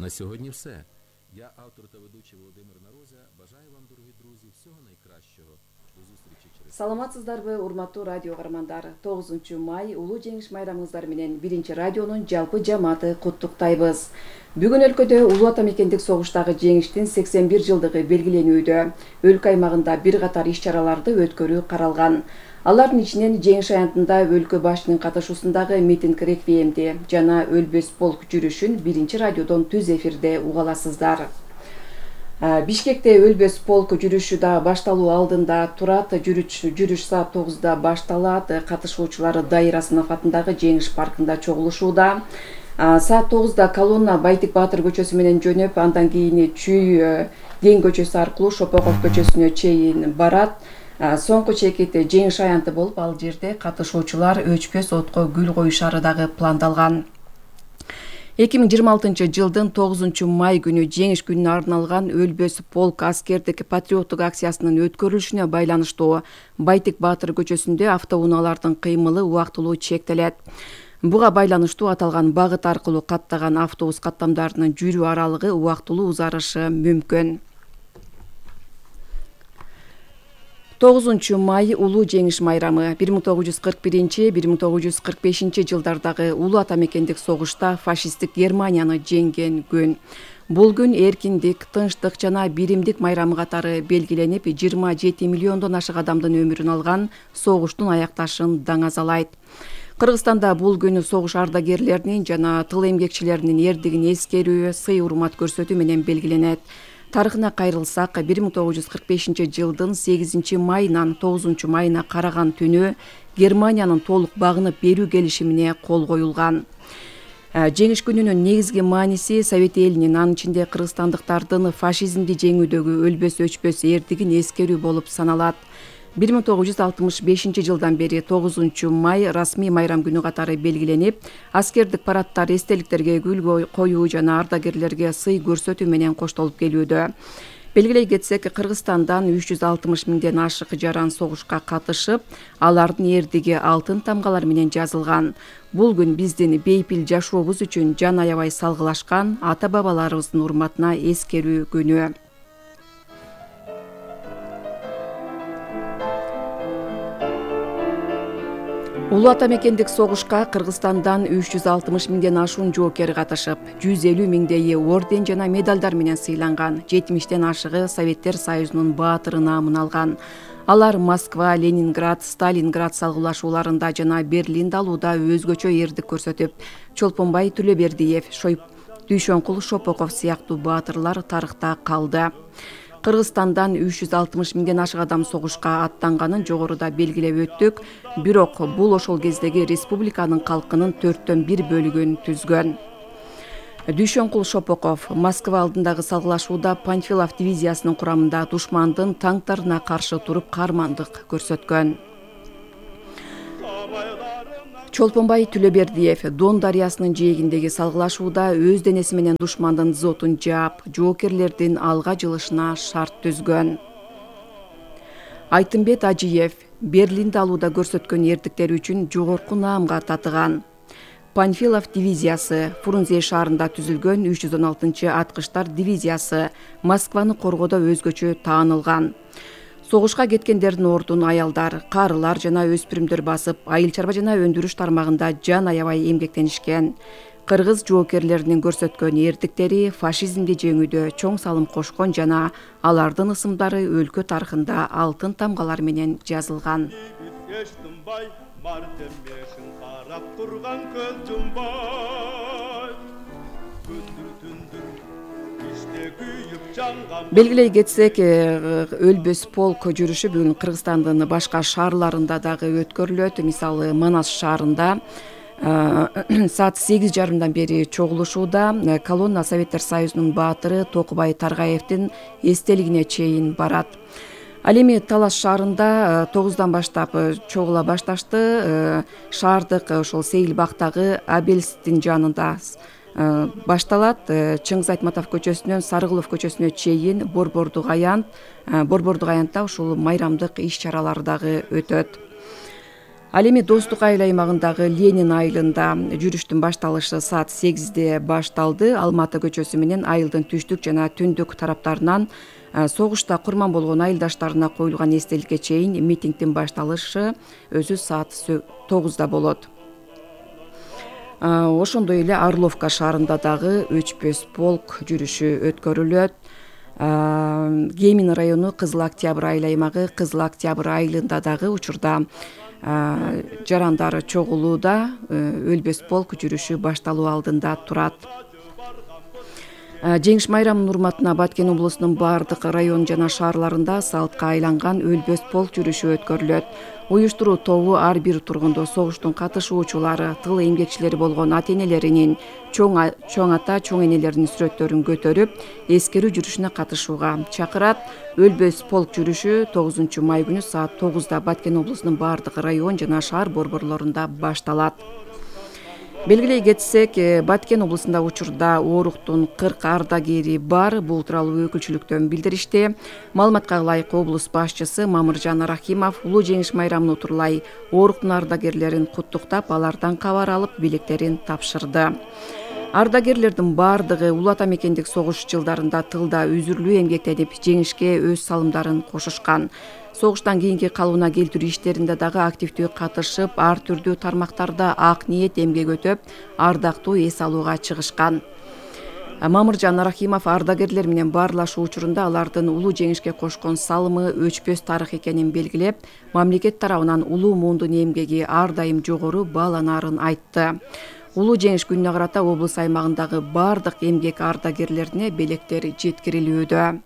На сьогодні все. Я автор та ведучий Володимир Нарозя. Бажаю вам, дорогі друзі, всього найкращого. До зустрічі через... Саламатсыздарбы, урматтуу радио каармандар. 9 май улуу жеңиш майрамыңыздар менен 1-радионун жалпы жамааты куттуктайбыз. Бүгүн өлкөдө улуу ата мекендик согуштагы жеңиштин 81 жылдыгы белгиленүүдө. Өлкө аймагында бир катар иш-чараларды өткөрүү каралган. Алардын ичинен жеңиш аянтында өлкө башчынын катышуусундагы митинг реквиемди жана өлбөс полк жүрүшүн 1-радиодон түз эфирде уга аласыздар. Бишкекте өлбөс полк жүрүшү да башталуу алдында турат. Жүрүш саат 9-да башталат. Катышуучулар Дайыр Асынов атындагы Жеңиш паркында чогулушууда. Саат 9-да колонна Байтик Баатыр көчөсү менен жөнөп, андан кийин Чүй Ден көчөсү аркылуу Шопоков көчөсүнө чейин барат. Соңку чекит жеңиш аянты болуп, ал жерде катышуучулар өчпөс отко гүл коюшары дагы пландалган. 2026 жылдын 9 май күнү жеңиш күнүнө арналган өлбөс полк аскердик патриоттук акциясынын өткөрүлүшүнө байланыштуу Байтик Баатыр көчөсүндө автоунаалардын кыймылы убактылуу чектелет. Буга байланыштуу аталган багыт аркылуу каттаган автобус каттамдарынын жүрүү аралыгы убактылуу узарышы мүмкүн. 9 май улуу жеңиш майрамы 1941-1945 жылдардагы улуу ата мекендик согушта фашисттик Германияны жеңген күн. Бул күн эркиндик, тынчтык жана биримдик майрамы катары белгиленип, 27 миллиондон ашык адамдын өмүрүн алган согуштун аякташын даңазалайт. Кыргызстанда бул күн согуш ардагерлеринин жана тыл эмгекчилеринин эрдигин эскерүү, сый-урмат көрсөтүү менен белгиленет. Тарыхына кайрылсак, 1945 жылдын 8 майынан 9 майына караган түнү Германиянын толук багынып берүү келишимине кол коюлган. Жеңиш күнүнүн негизги мааниси Совет элинин, анын ичинде кыргызстандыктардын фашизмди жеңүүдөгү өлбөс өчпөс эрдигин эскерүү болуп саналат. 1965 жылдан бери 9 май расмий майрам күнү катары белгиленип, аскердик парадтар, эстеликтерге гүл коюу жана ардагерлерге сый көрсөтүү менен коштолуп келүүдө. Белгилей кетсек, Кыргызстандан 360 миңден ашык жаран согушка катышып, алардын эрдиги алтын тамгалар менен жазылган. Бул күн биздин бейпил жашообуз үчүн жан аябай салгылашкан ата-бабаларыбыздын урматына эскерүү күнү. Улуу ата мекендик согушка Кыргызстандан 360 миңден ашуун жоокер катышып, 150 миңдейи орден жана медалдар менен сыйланган, 70тен ашыгы Советтер Союзунун баатыры наамын алган. Алар Москва, Ленинград, Сталинград салгылашууларында жана Берлинди алууда өзгөчө эрдик көрсөтүп, Чолпонбай Түлөбердиев, Дүйшөнкул Шопоков сыяктуу баатырлар тарыхта калды. Кыргызстандан 360 миңден ашык адам согушка аттанганын жогоруда белгилеп өттүк, бирок бул ошол кездеги республиканын калкынын 1/4 бөлүгүн түзгөн. Дүйшөнкул Шопоков Москва алдындагы салгылашууда Панфилов дивизиясынын курамында душмандын танктарына каршы туруп каармандык көрсөткөн. Чолпонбай Түлөбердиев Дон дарыясынын жээгиндеги салгылашууда өз денеси менен душмандын зотун жаап, жоокерлердин алга жылышына шарт түзгөн. Айтымбет Ажиев Берлинди алууда көрсөткөн эрдиктери үчүн жогорку наамга татыган. Панфилов дивизиясы Фрунзе шаарында түзүлгөн 316-аткыштар дивизиясы Москваны коргоодо өзгөчө таанылган. Согушка кеткендердин ордун аялдар, карылар жана өспүрүмдөр басып, айыл чарба жана өндүрүш тармагында жан аябай эмгектенишкен. Кыргыз жоокерлеринин көрсөткөн эрдиктери фашизмди жеңүүдө чоң салым кошкон жана алардын ысымдары өлкө тарыхында алтын тамгалар менен жазылган. Белгилей кетсек, өлбөс полк жүрүшү бүгүн Кыргызстандын башка шаарларында дагы өткөрүлөт. Мисалы, Манас шаарында саат 8:30 бери чогулушууда. Колонна Советтер Союзунун баатыры Токубай Таргаевдин эстелигине чейин барат. Ал эми Талас шаарында 9-дан баштап чогула башташты. Шаардык ошол Сейил бактагы Абельстин жанында башталат. Чыңгыз Айтматов көчөсүнөн Сарыгулов көчөсүнө чейин Борбордук аянтта ушул майрамдык иш-чаралар дагы өтөт. Ал эми Достук айыл аймагындагы Ленин айылында жүрүштүн башталышы саат 8-де башталды. Алматы көчөсү менен айылдын түштүк жана түндүк тараптарынан согушта курман болгон айылдаштарына коюлган эстеликке чейин митингдин башталышы өзү саат 9-да болот. Ошондой эле Орловка шаарында дагы өчпөс полк жүрүшү өткөрүлөт. Кемин району Кызыл Октябрь айыл аймагы Кызыл Октябрь айылында дагы учурда жарандар чогулууда. Өлбөс полк жүрүшү башталуу алдында турат. Жеңиш майрамынын урматына Баткен облусунун бардык район жана шаарларында салтка айланган өлбөс полк жүрүшү өткөрүлөт. Уюштуруу тобу ар бир тургунду согуштун катышуучулары, тыл эмгекчилери болгон ата-энелеринин, чоң ата, чоң энелеринин сүрөттөрүн көтөрүп, эскерүү жүрүшүнө катышууга чакырат. Өлбөс полк жүрүшү 9 май күнү саат 9-да Баткен облусунун бардык район жана шаар борборлорунда башталат. Белгилей кетсек, Баткен облусунда учурда ооруктун 40 ардагери бар. Бул тууралуу өкүлчүлүктөн билдиришти. Маалыматка ылайык облус башчысы Мамыржан Рахимов улуу жеңиш майрамын утурлай ооруктун ардагерлерин куттуктап, алардан кабар алып, билектерин тапшырды. Ардагерлердин бардыгы улуу ата мекендик согуш жылдарында тылда үзүрлүү эмгектенип, жеңишке өз салымдарын кошушкан. Согуштан кийинки калыбына келтирүү иштеринде дагы активдүү катышып, ар түрдүү тармактарда ак ниет эмгек өтөп, ардактуу эс алууга чыгышкан. Мамыржан Рахимов ардагерлер менен баарлашуу учурунда алардын улуу жеңишке кошкон салымы өчпөс тарых экенин белгилеп, мамлекет тарабынан улуу муундун эмгеги ар дайым жогору бааланаарын айтты. Улуу жеңиш күнүнө карата облус аймагындагы бардык эмгек ардагерлерине белектер жеткирилүүдө.